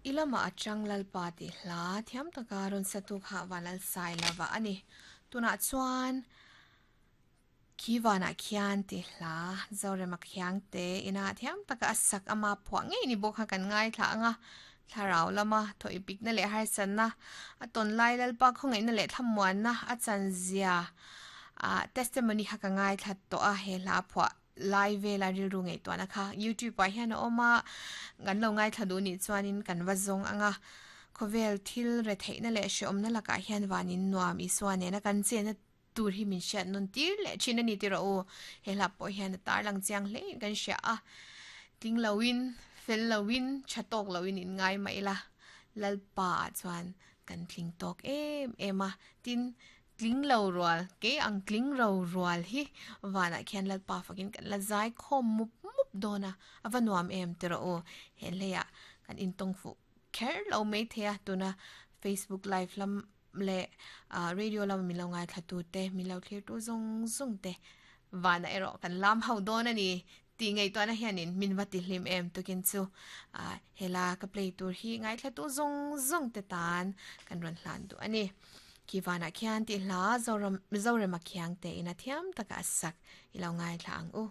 I lamah a chang Lalpa tih hla thiam taka rawn satu kha Vanlalsailova a ni. Tunah chuan Khi vanah khian tih hla Zorema Khiangte ina thiam taka a sak ama phuah ngei ni bawk kha kan ngaithla ang a. Thlarau lama thawipikna leh harsatna, a tawn lai Lalpa khawngaihna leh thlamuanna a chanzia ah testimony kha ka ngaithla tawh a he hla phuah lai vela rilru ngaihtuahna kha youtube ah hian a awm a, kan lo ngaithla duh nih chuanin kan va zawng ang a, khawvel thil retheihna leh hreawmna lakah hian vanin nuam Isua nena kan chenna tur hi min hriat nawn tir leh thin a ni tih rawh u. He hla pawh hian a tarlang chiang hle in kan hria a, tling loin, fel loin, tha tawk loin in ngai mah ila, Lalpa ah chuan kan tling tawk em em a, tin tling lo rual, kei ang tling ro rual hi vanah khian Lalpa fakin kan la zai khawm mup mup dawn a, a va nuam em tih rawh u. He hleiah kan intawng fuh kher lo maithei a, tuna Facebook live lam leh radio lama min lo ngaithla tu te, min lo thlir tu zawng zawng te vanah erawh kan lam ho dawn a ni tih ngaihtuahna hianin min va ti hlim em tukin chu hela ka play tur hi ngaithla tu zawng zawng te tan kan rawn hlan duh a ni. Khi vanah khian tih hla Zoram Zorema Khiangte in a thiam taka a sak i lo ngaithla ang u.